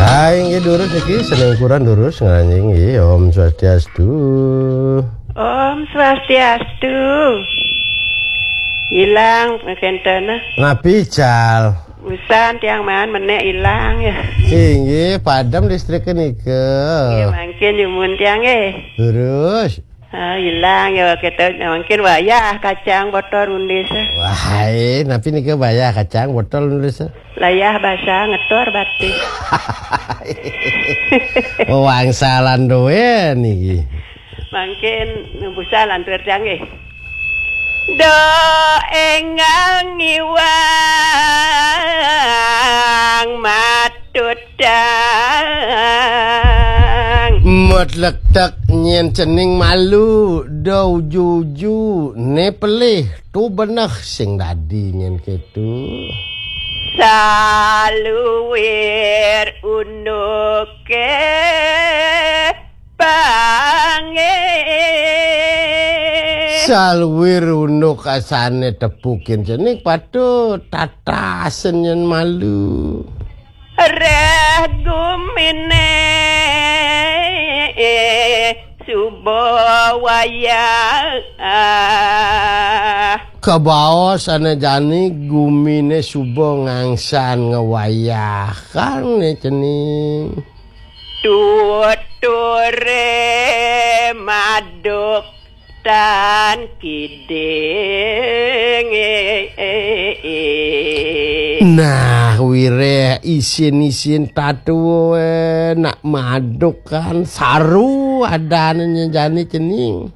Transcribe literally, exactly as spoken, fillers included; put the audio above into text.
Hai, inggih durus niki, sening kurang durus nganjing nggih. Om Swastiastu. Om Swastiastu. Ilang kenten. Napi cal? Usan tiang maan menek ilang ya. Inggih, padem listrik nika. Ya, mangkin yumun tiang eh. Durus. Ah, ilang ya kita mangkin wayah kacang botol undis. Wahai, napi nika wayah kacang botol undis? Layah basa ngetor batis. Wangsalan doen niki. Mangkin busa lantur tiang eh. Do enggal ngiwang matutang. Metlektek nyen cening malu, do uju-uju ne pelih tu beneh sing dadi nyen ketu. Saluir unuke pange. Saluir unuk asane tepukin cening patut tatasen nyen malu. Reh gumine suba wayah. Kabaos ane jani gumine suba ngangsan ngewayahkan ne cening. Tuture maduk tan kiding. Nah, wireh isin-isin tatua nak madukan saru adane jani cening.